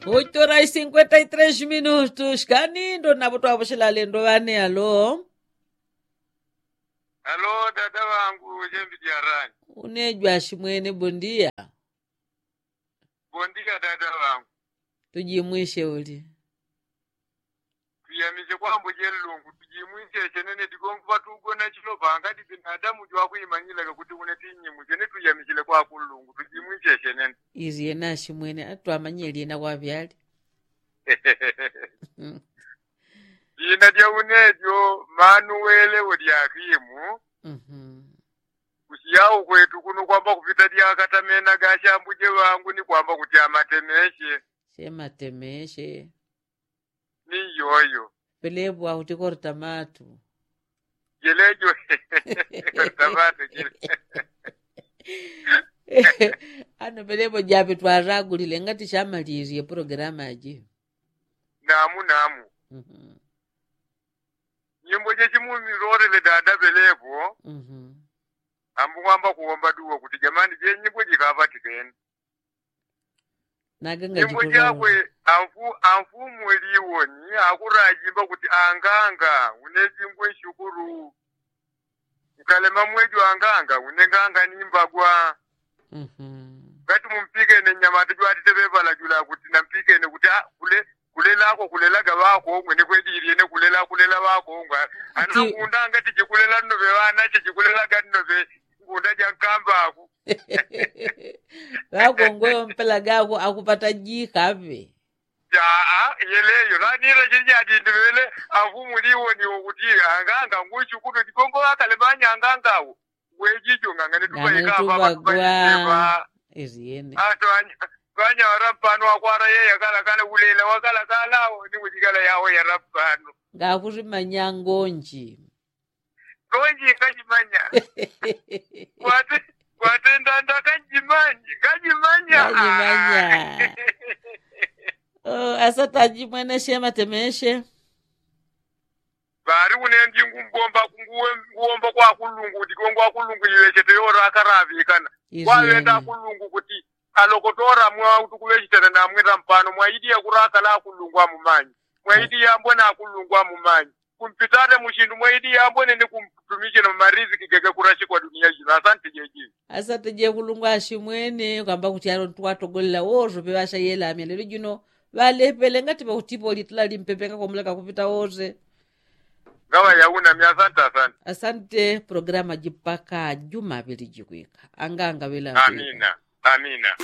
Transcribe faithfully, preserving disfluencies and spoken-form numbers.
Oitora i sinkwenta i tres minutu shikani ndo napo twaposhela alendo ŵane alo. Alo dada ŵangu jembi dyarani. Unejwa ashimwene bondia. Bondia dada ŵangu. Tujimwishe uli. Tuyamishe kwambo jelungu tujimwishe shenene digongu ŵatugona chilo pangadi binadamu jwakwimanyilaka kuti une tinyimwishe ni tuyamishile kwakulungu tujimwishe shenene. Izi yena ashimwene atwamanyie lyena kwavyali. Dina dya unejo manuwele ulyakimu. Kusiya ukwetu kuno kwamba kupita lyakatamena gashambuje ŵangu ni kwamba kuti amatemeshe. Shematemeshe. Ni yoyo. Pelepo akuti kortamatu. Jelejo. Kortamatu jele. Ano pelepo jape twaragulile ngati shamalirie programa ji. Namu namu. Nyimbo jechimumirorele dada pelepo. Ambu kwamba kuwomba duwa kuti jamani jenyimbo jikapatikene. Nyimbo jakwe amfumu liwoni akurajimba kuti anganga une jingwe nshukuru. Nkalema mwejo anganga une nganga nimbagwa. Ngati mumpikene nyamata jwatite ŵeŵalajula kuti nampikene kuti kulelako kulelaga ŵakongwe ni kwedilyene kulela kulela ŵakongwe. Anangunda ngati jikulela nnoŵe ŵanache jikulelaga nnoŵe. Ngunda jankambaku. Ŵakongwe ŵampelaga akupata jikaŵe. Aa yeleyo ŵanila chili chadindiŵele. Afumu liwoni wokuti anganga ngwichukulu digongo ŵakale ŵanyanganga awo. Ngwejijo ngangane tupaikapa ŵantu ŵaishepa. Ŵanyawara mpano akwara yeya kalakala ulela wakalakala awo ni ujikala yawo yara mpano. Ngakuti manyangonji. Ngonji ngajimanya. Kwatenda ndakajimanya ngajimanya. Asata jimwene shema temeshe. Ŵali une ndi ngumbomba nguwomba kwa kulungu digongo akulungu iŵechete yora akaraŵikana. Kwaŵenda akulungu kuti alokotora mwa utukuŵechitana namwita mpano mwaidi yakurakala akulungu amumanyi. Mwaidi yambwene akulungu amumanyi. Kumpitane muchindu mwaidi yambwene ni kumtumichina mariziki gege kurashi kwa dunia jino asante jeji. Asante jekulungu ashimwene kwamba kuti alo ntwatogolela wozo peŵasha yelamya lelo jino. Ŵalepele ngati ŵautipo litala limpepe ngakomulaka kupita woze. Ngaŵayaunamya asante asante. Asante programa jipaka juma ŵili jikwika. Anganga ŵila amina. Amina.